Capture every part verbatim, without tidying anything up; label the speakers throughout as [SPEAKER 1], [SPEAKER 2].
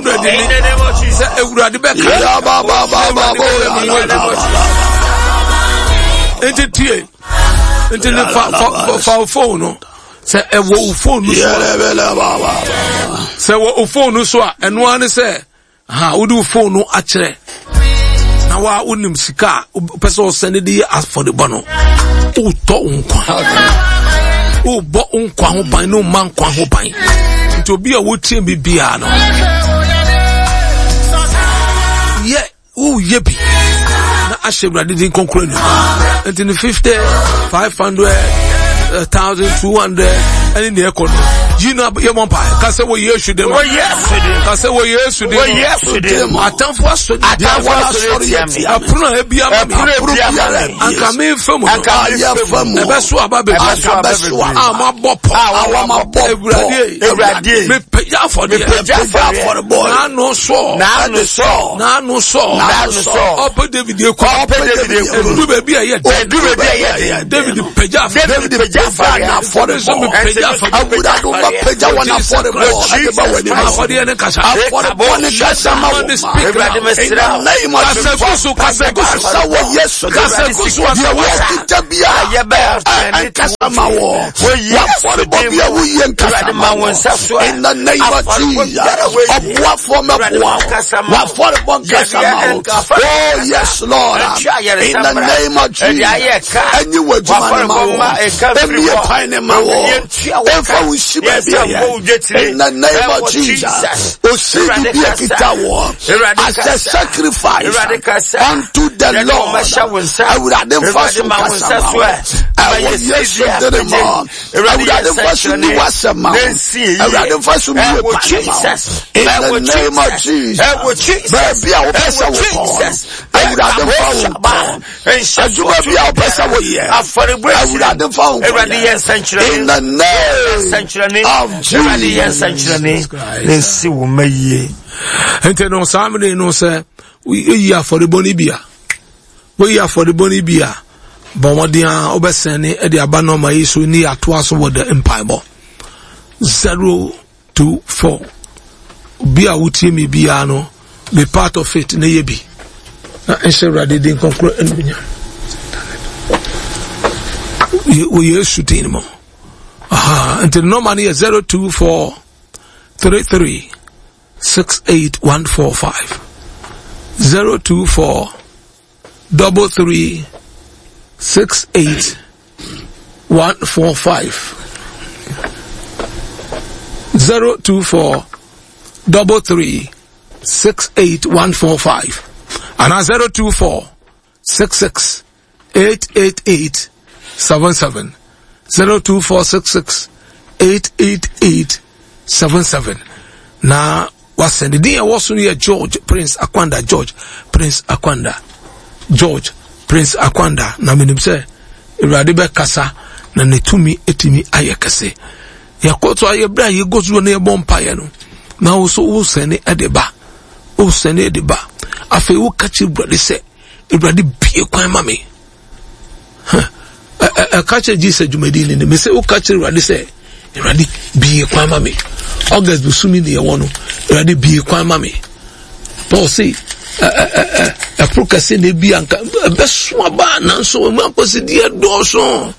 [SPEAKER 1] hundred ni sɛ Awurade bɛka nti tie nti ne fa fa fa phone no sɛ ɛwɔ wo phone no so a sɛ wɔ wo phone no so a ɛno ara ne sɛ ha wode wo phone no akyerɛ na wa wonim sika a wopɛ sɛ ɔsɛne de yɛ afɔrebɔ no wotɔ wo nkwa wobɔ wo nkwa ho ban ne woma nkwa ho ban nti obi a wotie bi biara no yɛ woyɛ bi na ahyɛ Awurade din kronkron anuonyam nti ne fifty five hundred thousand two hundred ɛne nea ɛkɔ no yi na yɛ mɔ mpa ka sɛ wɔ Yesu din mu ka sɛ wɔ Yesu din mu atamfo asɔre
[SPEAKER 2] atamfo asɔre tia me
[SPEAKER 1] ɛpono a ebi ama me anka me nfa mu no ɛbɛso aba bebree a mo abɔ pɔ Awurade
[SPEAKER 2] Awurade
[SPEAKER 1] mepagya afɔdeɛ n'ano sɔ
[SPEAKER 2] n'ano sɔ
[SPEAKER 1] n'ano sɔ
[SPEAKER 2] n'ano sɔ
[SPEAKER 1] ɔpɛ David ekɔ
[SPEAKER 2] ɔpɛ David ekɔ
[SPEAKER 1] edu baabi a ɛyɛ
[SPEAKER 2] edu baabi a ɛyɛ den
[SPEAKER 1] David pagya afɔdeɛ
[SPEAKER 2] David pagya afɔdeɛ
[SPEAKER 1] afɔdeɛ nso mepagya afɔdeɛ
[SPEAKER 3] Awurade ma pagya wɔn afɔrebɔ ɛde ba wɔ anim
[SPEAKER 1] afɔdeɛ ne kasa
[SPEAKER 3] afɔrebɔ ne kasa ma wɔ
[SPEAKER 2] Awurade mesrɛ wo
[SPEAKER 1] kasa gu so kasa gu so
[SPEAKER 3] kasa wɔ Yesu
[SPEAKER 1] kasa gu so
[SPEAKER 3] deɛ wɔkita bia ɛnkasa ma wɔ wafɔrebɔ bia woyɛ nkasa ma wɔ in the name of Jesus ɔboafoɔ mɛboa wafɔrebɔ nkasa ma wɔ oh yes Lord in the name of Jesus ɛnyi wɔ adwuma ne ma wɔ ɛmie kwan ne ma wɔ ɛmfa wo nsi baabi ɛyɛ in the name of Jesus osidi bi ekita wɔ as a sacrifice unto the Lord Awurade nfa so nkasa ma wɔ ɛwɔ Yesu dere mu Awurade nfa so ni wasɛm ma wɔ Awurade nfa so mie kwan ne ma wɔ in the name of Jesus baabi a wopɛ sɛ wokɔ Awurade nfa wo nkɔ adwuma bi a wopɛ sɛ woyɛ Awurade nfa wo nkɔ in the name of Jesus
[SPEAKER 2] nsi wo ma yie
[SPEAKER 1] nti no saa mmere no sɛ woyi afɔrebɔ no bi a woyi afɔrebɔ no bi a bɔ mmɔden a wobɛsɛn ne de aba nɔɔma yi so ne atoa so wɔ the mpaebɔ zero two four obi a wotie mi biara no be part of it ne yɛ bi na nhyɛ Awurade din kronkron anuonyam wɔ Yesu din mu aha nti nɔɔma no yɛ zero two four three three six eight one four five zero two four double three six eight one four five zero two four double three six eight one four five and zero two four six six eight eight eight seven seven zero two four six six eight eight eight seven seven. Na wasɛn din ɛwɔ so no yɛ George Prince Akwanda George Prince Akwanda George Prince Akwanda na menim sɛ Awurade bɛkasa na ne tumi etumi ayɛ kɛse yɛkɔ so ayɛ berɛ a yɛkɔ so na yɛbɔ mpaeɛ no na wo so wosɛne ɛde ba wosɛne ɛde ba afei woka kyerɛ Awurade sɛ Awurade bie kwan ma me ɛka kyerɛ Jesus dwumadi ni me sɛ woka kyerɛ Awurade sɛ Awurade bie kwan ma me August bosome ne yɛwɔ no Awurade bie kwan ma me Paul say ɛporo kɛse na ebi anka ɛbɛso aba nanso ɛmu akɔsideɛ dɔɔso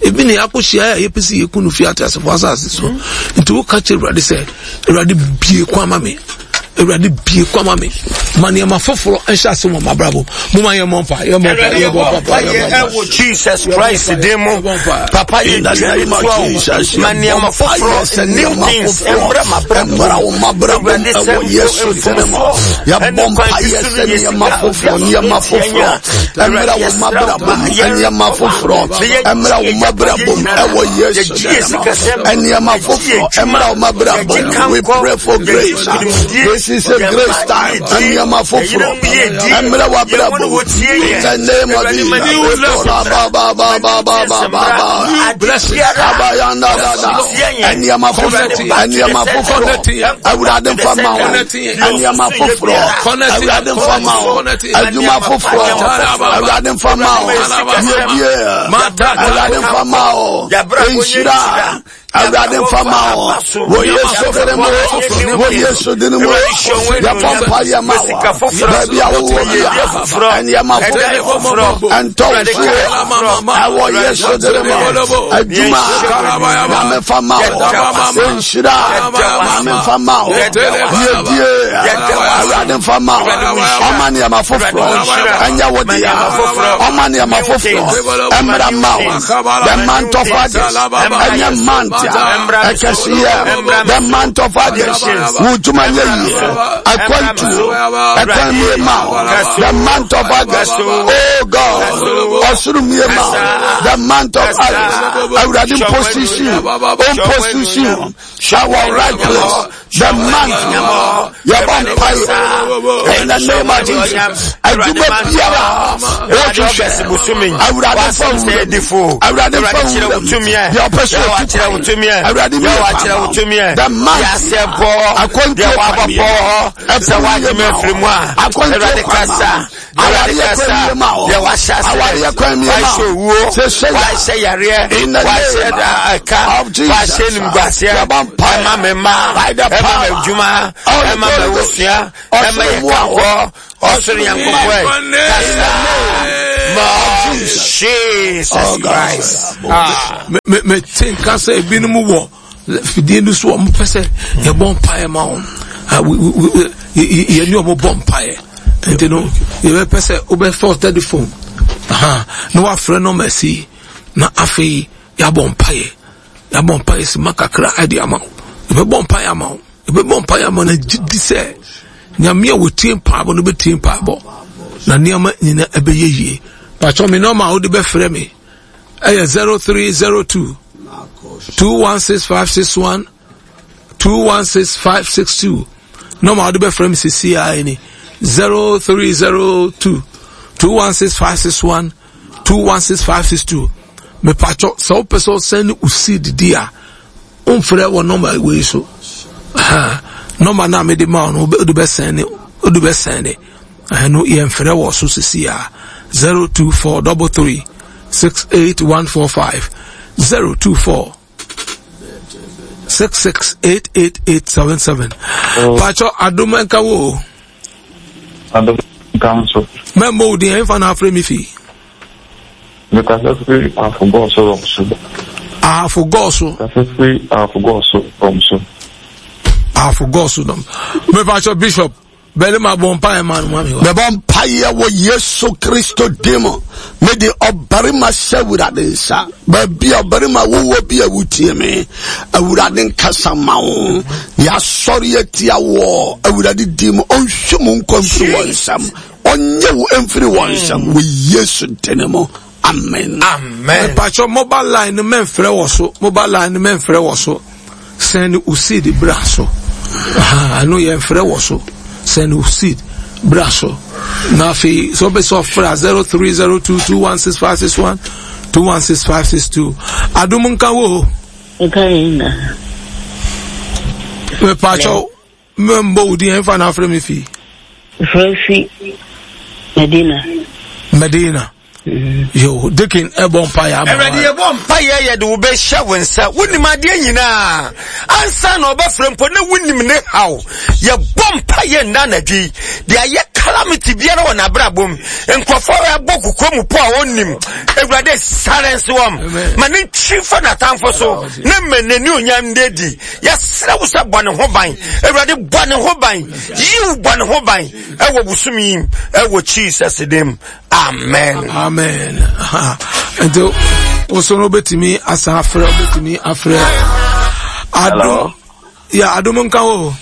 [SPEAKER 1] ebi na yɛakɔhyia a yɛpɛ sɛ yɛku no fi ateasefo asase so nti woka kyerɛ Awurade sɛ Awurade bie kwan ma me Awurade bie kwan ma me ma nneɛma foforɔ nhyɛ ase wɔ m'abrabɔ mo ma yɛmmɔ mpa yɛmmɔ mpa yɛmmɔ mpa yɛmmɔ mpa
[SPEAKER 2] ɛwɔ Jesus Christ din mu papa yɛ dwa ma nneɛma foforɔ new things ɛmbrɛ m'abrabɔ
[SPEAKER 3] Awurade sɛ Yesu din mu yɛbɔ mpa yɛ sɛ nneɛma foforɔ nneɛma foforɔ ɛmbrɛ wɔ m'abrabɔ nneɛma foforɔ ɛmbrɛ wɔ m'abrabɔ ɛwɔ Yesu din mu nneɛma foforɔ ɛmbrɛ wɔ m'abrabɔ we pray for grace this is a grace time nneɛma foforɔ ɛmbrɛ wɔ abrabɔ in the name of Jesus ba ba ba ba ba ba ba ba abayanda dada nneɛma foforɔ nneɛma foforɔ Awurade nfa ma wo nneɛma foforɔ Awurade nfa ma wo adwuma foforɔ Awurade nfa ma wo yedie Awurade nfa ma wo nhyira Awurade nfa ma wo. Wɔ Yesu din mu. Wɔ Yesu din mu. Yɛbɔ mpaeɛ ma wo. Baabi a wowɔ bia, nneɛma foforɔ ɛntɔ wo so. Ɛwɔ Yesu din mu. Adwuma Nyame fa ma wo. Nhyira Nyame fa ma wo. Yiedie Awurade nfa ma wo. Ɔma nneɛma foforɔ ɛnyɛ wo dea. Ɔma nneɛma foforɔ ɛmmra ma wo. The month of August ɛnyɛ month a ɛkɛseɛ. The month of August wo dwuma nyɛ yie. Akwantuo ɛkwan mie ma wo. The month of August, oh God, ɔsoro mie ma wo. The month of August, Awurade position, position, ɛwɔ right place. The month yɛbɔ mpaeɛ in the name of Jesus. Adwuma biara wɔhwehwɛ Awurade fa wura Awurade fa wura deɛ ɔpɛ sɛ ɔtu kwan Awurade mi yɛ kwan the month akwantuo kwan ɛfɛ wagye ma akwantuo kwan ma awareɛ kwan mie ma wo awareɛ kwan mie ma wo sɛ sɛ ya in the name of Jesus yɛbɔ mpaeɛ by the power of the Holy Ghost ɔsoro mu a
[SPEAKER 2] ɔsoro Nyankopɔn Jesus Christ.
[SPEAKER 1] Me me te nka sɛ ebinom wɔ fidie no so wɔn pɛ sɛ yɛbɔ mpaeɛ ma wɔn yɛne wɔn bɔ mpaeɛ nti no yɛbɛpɛ sɛ wobɛfa telephone na wafrɛ nɔmba si na afei yɛabɔ mpaeɛ yɛabɔ mpaeɛ si ma kakra ɛde ama wo yɛbɛbɔ mpaeɛ ama wo yɛbɛbɔ mpaeɛ ama no gye di sɛ Nyame a wɔtie mpaebɔ no bɛtie mpaebɔ na nneɛma nyina ɛbɛyɛ yie. Patwɔ me nɔma a wode bɛfrɛ me ɛyɛ zero three zero two two one six five six one two one six five six two. Nɔma a wode bɛfrɛ me sisi a ɛni zero three zero two two one six five six one two one six five six two. Mepatwɔ sɛ wopɛ sɛ ɔsɛn ne wo seed di a womfrɛ wɔ nɔma wei so. Nɔma no a mede ma wo no wode bɛsɛn ne wode bɛsɛn ne ɛno yɛmfrɛ wɔ so sisi a zero two four double three six eight one four five zero two four six six eight eight eight seven seven. Patwɔ adom nka wo.
[SPEAKER 4] Adom nka nso.
[SPEAKER 1] Mɛmmɔ wo din ɛmfa na afrɛ me fi.
[SPEAKER 4] Mekasa firi Ahafo so rɔm so.
[SPEAKER 1] Ahafo so.
[SPEAKER 4] Kasa firi Ahafo so rɔm so.
[SPEAKER 1] Ahafo so dɔm. Mepatwɔ Bishop bɛne ma bɔ mpaeɛ ma no ma me.
[SPEAKER 3] Mebɔ mpaeɛ wɔ Yesu Kristo din mu. Mede ɔbarima hyɛ Awurade nsa. Baabi a ɔbarima wowɔ bi a wotie me. Awurade nkasa ma wo. Yɛasɔre atia wɔ Awurade din mu. Ɔnhwɛ mu nkwa mfiri wɔn nsam. Ɔnyɛ wo mfiri wɔn nsam. Wɔ Yesu din mu. Amen.
[SPEAKER 2] Amen.
[SPEAKER 1] Mepatwɔ mobile line no mɛmfrɛ wɔ so. Mobile line no mɛmfrɛ wɔ so. Send wo seed bra so. Ɛno yɛmfrɛ wɔ so. Send wo seed bra so. Na afei sɛ wopɛ sɛ ɔfrɛ a zero three zero two two one six five six one two one six five six two. Adom nka wo.
[SPEAKER 5] Nka yɛn na.
[SPEAKER 1] Mepatwɔ mɛmbɔ wo din ɛmfa na afrɛ me fi.
[SPEAKER 5] Frɛ fi Medina.
[SPEAKER 1] Medina. Yo, Dikin ɛbɔ mpaeɛ ama.
[SPEAKER 2] Awurade yɛbɔ mpaeɛ yɛde wo bɛhyɛ wo nsa. Wonim adeɛ nyinaa. Ansa na ɔbɛfrɛ mpo na wonim ne haw. Yɛbɔ mpaeɛ nna anadwo yi. Deɛ ayɛ calamity biara wɔ n'abrabɔ mu. Nkurɔfoɔ ɛbɔ kukuo mu po a ɔnnim. Awurade silence wɔn. Ma ne ntwi fa n'atamfo so. Ne mma n'ani onyam de di. Yɛsrɛ wo sɛ bɔ ne ho ban. Awurade bɔ ne ho ban. Yiw bɔ ne ho ban. Ɛwɔ bosom yi ɛwɔ Jesus dim. Amen.
[SPEAKER 1] Amen. Nti wo no betumi asan afrɛ betumi afrɛ. Adom. Ya adom nka wo.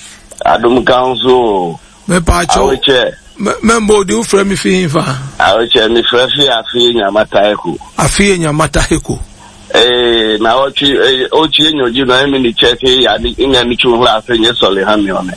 [SPEAKER 6] Adom nka wo so.
[SPEAKER 1] Me pa cho.
[SPEAKER 6] Awekyɛ.
[SPEAKER 1] Membo odi wo frɛ me fi hinfa.
[SPEAKER 6] Awekyɛ me frɛ fi afi nyamata eko.
[SPEAKER 1] Afi nyamata eko.
[SPEAKER 6] Eh na ochi eh ochi enyoji na emi ni check ya ni nya ni chu hla ase nye soli ha mi one.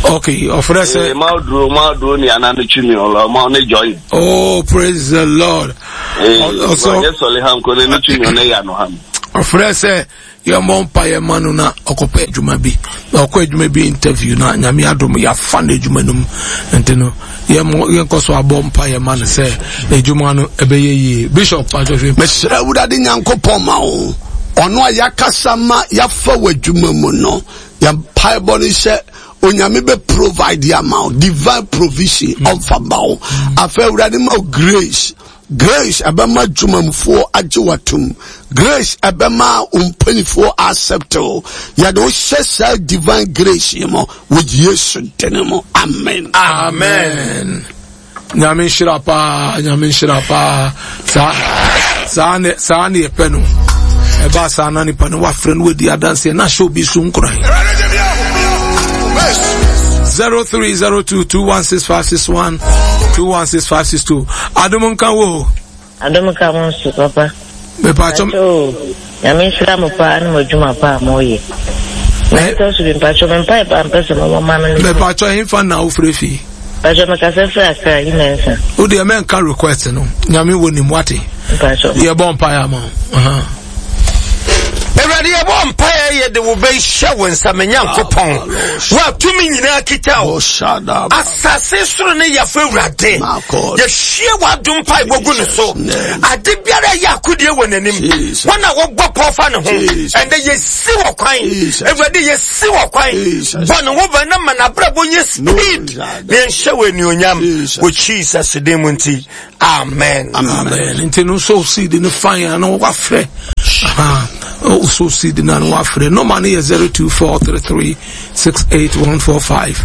[SPEAKER 1] Okay, ofre se.
[SPEAKER 6] Eh ma duro ma duro ni ana ni chu mi olo ma ne join.
[SPEAKER 1] Oh, praise the Lord.
[SPEAKER 6] Eh also nye soli ha nko ne ni chu mi one ya no ha mi.
[SPEAKER 1] Ofre se yɛmmɔ mpaeɛ ma no na ɔkɔpɛ adwuma bi na ɔkɔ adwuma bi interview na Nyame adom yɛafa no adwuma no mu nti no yɛnkɔ so abɔ mpaeɛ ma no sɛ adwuma no ɛbɛyɛ yie. Bishop Patwɔhwɛ.
[SPEAKER 3] Mesrɛ Awurade Nyankopɔn ma wo. Ɔno a yɛakasa ma yɛafa w'adwuma mu no, yɛn mpaebɔ ne sɛ Onyame bɛ provide ama wo divine provision ɔmfa ma wo. Afei Awurade ma wo grace. Grace ɛbɛma dwumamfoɔ agye w'atom. Grace ɛbɛma wo mpanimfoɔ accept wo. Yɛde wo hyɛ saa divine grace yi mu wɔ Yesu din mu. Amen.
[SPEAKER 1] Amen. Nyame nhyira paa, Nyame nhyira paa. Saa saa ne saa ne yɛpɛ no. Ɛba saa na nipa no wafrɛ no wadi adanseɛ na ahyɛ obi so nkuran. Zero three zero two two one six five six one two one six five six two. Adom nka wo.
[SPEAKER 5] Adom nka mo nso papa.
[SPEAKER 1] Mepatwɔ.
[SPEAKER 5] Nyame nhyira mo paa ne mo adwuma paa mo yɛ. Na ɛtɔ so bi mpatwɔ me mpae paa mpɛ sɛ mo ma me.
[SPEAKER 1] Mepatwɔ hemfa na wofrɛ fi.
[SPEAKER 5] Mpatwɔ mekasa firi Accra yi mɛnsa.
[SPEAKER 1] Wo deɛ mɛnka request no. Nyame wɔ nim wate.
[SPEAKER 5] Mpatwɔ.
[SPEAKER 1] Yɛbɔ mpae ama wo.
[SPEAKER 2] Awurade yɛbɔ mpaeɛ yɛde wo bɛhyɛ wo nsa me Nyankopɔn wo a tumi nyinaa kita wo asase soro ne yɛfo Awurade yɛhwie w'adom mpaebɔ gu ne so ade biara ɛyɛ akodie wɔ n'anim wɔn a wɔbɔ pɔw fa ne ho ɛndɛ yɛsi wɔ kwan Awurade yɛsi wɔ kwan bɔ ne ho ban na ma n'abrabɔ nyɛ speed na yɛnhyɛ wɔ anuonyam wɔ Jesus din mu nti Amen.
[SPEAKER 1] Amen. Nti no so seed no fine ano wafrɛ. Aha. So seed no ano wafrɛ. Number no yɛ zero two four three three six eight one four five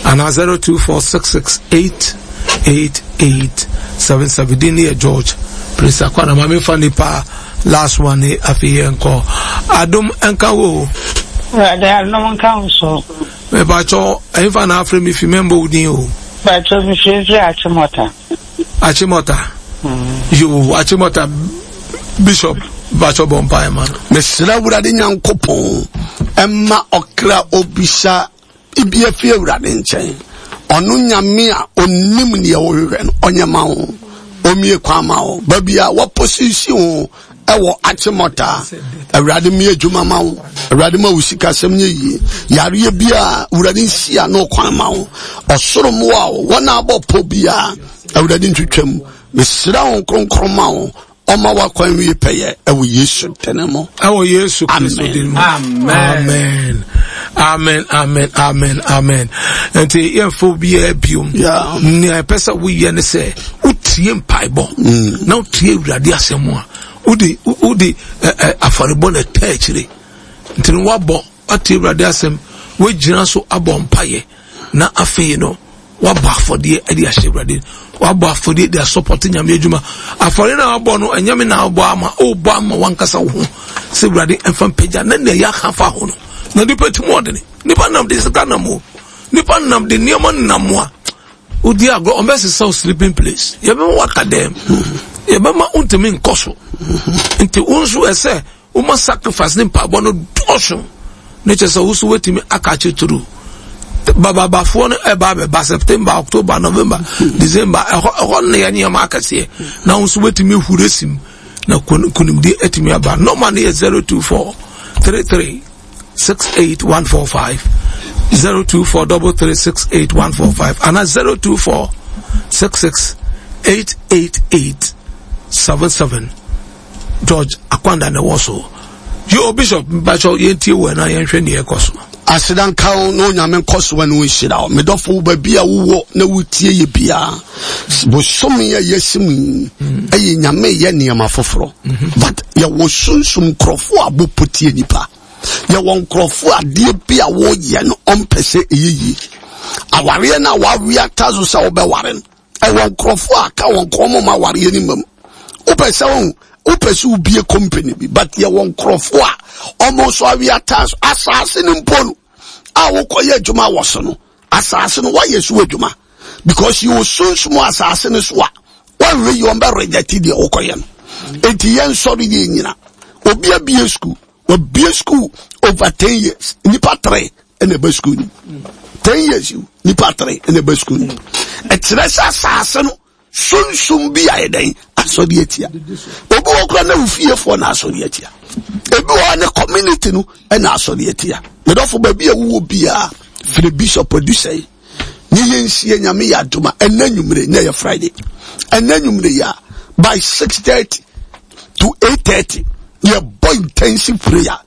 [SPEAKER 1] ana zero two four six six eight eight eight seven seven. Din no yɛ George. Prince Akwana ma mefa nipa last one ne afei yɛn kɔ. Adom nka wo.
[SPEAKER 7] Awurade adom nka wo so.
[SPEAKER 1] Mepakyɛ ɛmfa na afrɛ me fi mɛmbɔ wo din o.
[SPEAKER 7] Pakyɛ me fi firi Achimota.
[SPEAKER 1] Achimota. Mm. Yo, Achimota Bishop Pakyɛ bɔ mpaeɛ ma no.
[SPEAKER 3] Mesrɛ Awurade Nyankopɔn ɛma ɔkra obisa ibi afi Awurade nkyɛn. Ɔno Nyame a onim neɛ wohwehwɛ no ɔnyɛ ma wo. Omie kwan ma wo. Baabi a wɔposisi wo ɛwɔ Achimota Awurade mi adwuma ma wo. Awurade ma wo sikasɛm nyɛ yie. Yareɛ bi a Awurade nsi ano kwan ma wo. Ɔsoro mmoa wo. Wɔn a abɔ pɔ biara Awurade ntwitwam. Mesrɛ wo kronkron ma wo. Ɔma wakwan wie pɛyɛ ɛwɔ Yesu din mu.
[SPEAKER 1] Ɛwɔ Yesu Kristo din mu. Amen. Amen. Amen. Amen. Amen. Nti yɛmfa obiara biom. Nea ɛpɛ sɛ woyɛ ne sɛ wotie mpaebɔ na wotie Awurade asɛm a wode wode afɔrebɔ na ɛta akyire. Nti no woabɔ woatie Awurade asɛm woagyina so abɔ mpaeɛ na afei no wabɔ afɔdeɛ de ahyɛ Awurade wabɔ afɔdeɛ de asɔpɔte Nyame adwuma afɔdeɛ na wabɔ no ɛnyɛ me na wabɔ ama wobɔ ama wankasa wo ho sɛ Awurade ɛmfa mpagya na nea yɛaka fa ho no na nipa ti mu ɔdene nipa nam de sika nam o nipa nam de nneɛma nam a wodi agorɔ ɔmbɛsesa wo sleeping place yɛbɛma waka dɛm yɛbɛma wontumi nkɔ so nti wo nso ɛsɛ woma sacrifice ne mpaebɔ no dɔɔso ne kyerɛ sɛ wo so woatumi aka akye turu bababafoɔ no ɛba abɛba September October November December ɛhɔ ɛhɔ no yɛ nneɛma akɛseɛ na wo nso woatumi ahuri asim na konimdie atumi aba nɔma no yɛ zero two four three three six eight one four five zero two four double three six eight one four five ana zero two four six six eight eight eight seven seven George Akwanda na ɛwɔ so. Yo Bishop mpakyɛw yɛntie wɔ na yɛnhwɛ nea ɛkɔ so.
[SPEAKER 3] Aseda nka wo na Onyame nkɔ so ne wo nhyira wo. Medɔfo wo baabi a wowɔ na wotie yɛ biara. Bosome a yɛasi mu yi ɛyɛ Nyame yɛ nneɛma foforɔ. But yɛwɔ sunsum nkurɔfoɔ a bɔpɔ tie nipa. Yɛwɔ nkurɔfoɔ adeɛ bi a wɔyɛ no ɔmpɛ sɛ ɛyɛ yie. Awareɛ no a wawe ata so sɛ wobɛware no ɛwɔ nkurɔfoɔ a ka wɔn kɔn mu ma awareɛ no mam. Wopɛ sɛ wo wopɛ sɛ wobie company bi but yɛwɔ nkurɔfoɔ a ɔmo nso awe ata so asaase no mpo no a wokɔyɛ adwuma wɔ so no asaase no woayɛ so adwuma because yɛwɔ sunsum asaase no so a wɔnhwɛ yi wɔn bɛ reject deɛ wokɔyɛ no eti yɛn nsɔre yɛn nyina obi abie school wabie school over ten years nipa three ɛna ɛbɛ school ni ten years nipa three ɛna ɛbɛ school ni ɛkyerɛ sɛ asaase no sunsum bi ayɛ dɛn asɔre atia obi wɔ kora na ofiefoɔ na asɔre atia ebi wɔ ne community no ɛna asɔre atia medɔfo baabi a wowɔ biara firi bishop adusɛe ne yɛnsie Nyame yɛ adoma ɛnɛ nwumire nyɛ yɛ Friday ɛnɛ nwumire yɛ a by six thirty to eight thirty yɛbɔ Yɛkɔ intensive prayer.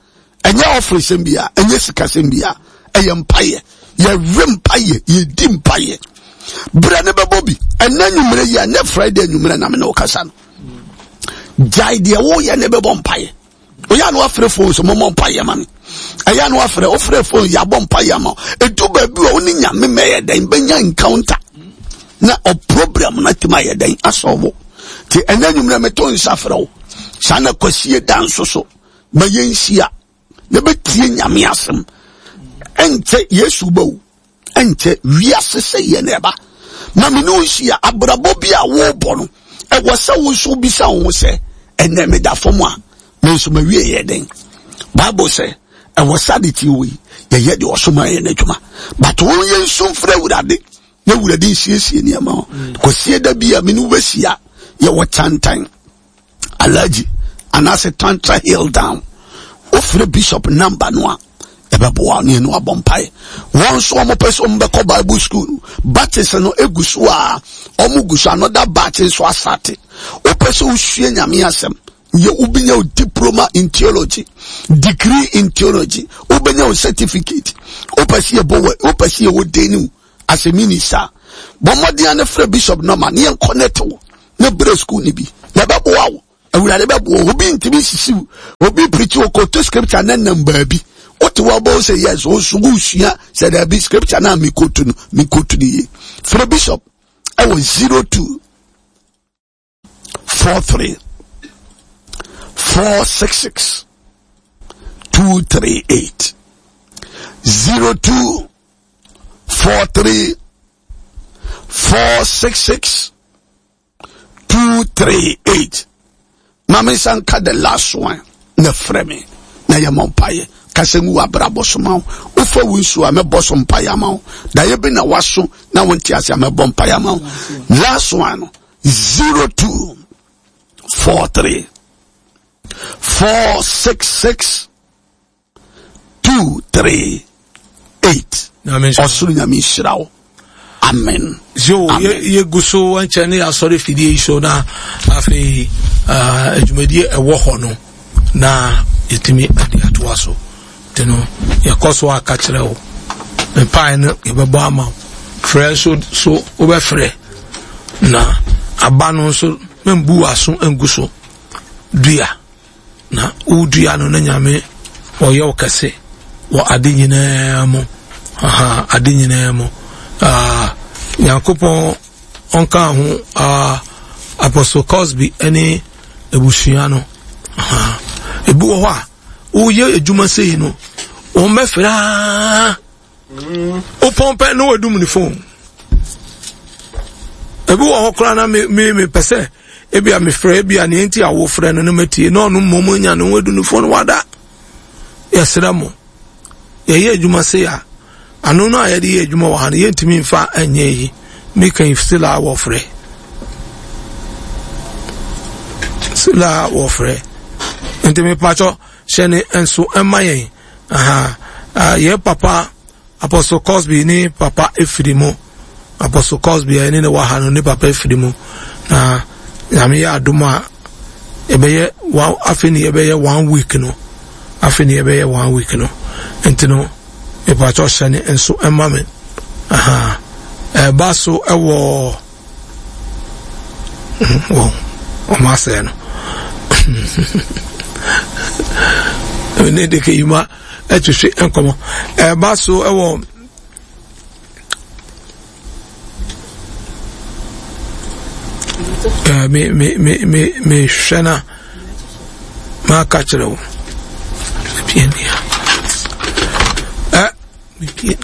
[SPEAKER 3] Ɛnyɛ ɔfiri sɛm bia, ɛnyɛ sika sɛm bia, ɛyɛ mpaeɛ. Yɛwe mpaeɛ, yɛdi mpaeɛ. Berɛ ne bɛbɔ bi. Ɛnɛ nwummerɛ yi, ɛnɛ Friday nwummerɛ na me ne wo kasa no. Gyae deɛ woyɛ ne bɛbɔ mpaeɛ. Oyɛ ano afrɛ phone so mɔmɔ mpaeɛ ma me. Ɛyɛ ano afrɛ, wofrɛ phone yɛabɔ mpaeɛ ama wo. Ɛdu baabi a wo ne Nyame mɛyɛ dɛn bɛnya encounter. Na ɔprogram no atumi ayɛ dɛn asɔwo. Nti ɛnɛ nwummerɛ meto nsa frɛ wo. Saa na kwasie da nso so. Ma yɛnhyia na bɛtie Nyame asɛm. Ɛnkyɛ Yesu bɛwu. Ɛnkyɛ wiase sɛ yɛ na ɛba. Ma me ne wo nhyia. Abrabɔ bi a wobɔ no, ɛwɔ sɛ wo nso wobisa wo ho sɛ, ɛnɛ meda fam a, me nso mawie yɛ dɛn? Bible sɛ, ɛwɔ sɛ ade tie wei, yɛyɛ deɛ ɔsoma yɛ n'adwuma. But wo yɛ nsu mfrɛ Awurade, na Awurade nsiesie nneɛma ho. Kɔsie da bi a me ne wo bɛhyia, yɛwɔ Kyantan Alhaji anaasɛ Tantra Hill Down. Wofrɛ Bishop number no a, ɛbɛboa ne ɛno abɔ mpae. Wɔn nso wɔn pɛ sɛ wɔn bɛkɔ Bible school no, batches no egu so a wɔn gu so, another batch nso asate. Wopɛ sɛ wosua Nyame asɛm, yɛ wobɛnya wo diploma in theology, degree in theology, wobɛnya wo certificate. Wopɛ sɛ yɛbɔ wɔ, wopɛ sɛ yɛwɔ den wo as a minister, bɔ mmɔden ne frɛ bishop nɔma ne yɛn connect wo ne brɛ school ne bi na ɛbɛboa wo. Awurade bɛboa wo. Obi ntumi nsisi wo. Obi preach wo kɔto scripture ne nam baabi. Wote wɔ bɔ sɛ yes, wo nso wosua sɛ daabi scripture na mekotu no, mekotu no yie. Frɛ bishop ɛwɔ zero two four three four six six two three eight zero two four three four six six two three eight. Maame nsa nka the last one na frɛ me na yɛ mɔ mpaeɛ kasa ngu abrabɔ so ma wo. Wofa wo nsuo a mɛbɔ so mpaeɛ ama wo. Daeɛ bi na waso na wonte ase a mɛbɔ mpaeɛ ama wo. Last one no zero two four three four six six two three eight. Ɔsoro Nyame nhyira wo. Amen.
[SPEAKER 1] Yo, yɛgu so nkyɛn ne asɔre fidie yi so na afei adwumadie ɛwɔ hɔ no na yɛtumi de atoa so. Nti no yɛkɔ so aka kyerɛ wo mpae no yɛbɛbɔ ama wo. Frɛ nso so wobɛfrɛ na aba no nso membu w'aso ngu so dua. Na wodua no na Nyame ɔyɛ wo kɛse wɔ ade nyinaa mu. Aha, ade nyinaa mu. Ah, Nyankopɔn ɔnka ho, ah, Apostle Cosby ne abusua no. Aha. Ebi wɔ hɔ a, woyɛ adwuma sei no, wɔn bɛfrɛ aa. Wopɔn pɛ na wadum ne phone. Ebi wɔ hɔ koraa na me me mepɛ sɛ ebi a mefrɛ ebi a nea nti a wofrɛ no no matie na ɔno mmom anya ne ho adu ne phone wada. Yɛsrɛ mo, yɛyɛ adwuma sei a, ano no a yɛde yɛ adwuma wɔ ha no yɛntumi mfa nyɛ yi. Meka yi still a wɔfrɛ. Still a wɔfrɛ. Nti mepakyɛ hyɛ ne nso ɛma yɛn. Aha, uh, yɛ papa Apostle Cosby ne papa efiri mu. Apostle Cosby a ɛne ne wɔ ha no ne papa efiri mu. Na Nyame yɛ adom a yɛbɛyɛ one afei ne yɛbɛyɛ one week no. Afei ne yɛbɛyɛ one week no. Nti no mepakyɛ hyɛ ne nso ɛma me. Aha, ɛba so ɛwɔ wɔn wɔn asɛe no. Ne de keyima ɛtwehwe nkɔmɔ ɛba so ɛwɔ ɛɛ me me me me me hwɛ na maka kyerɛ wo pie nia ɛ me pie.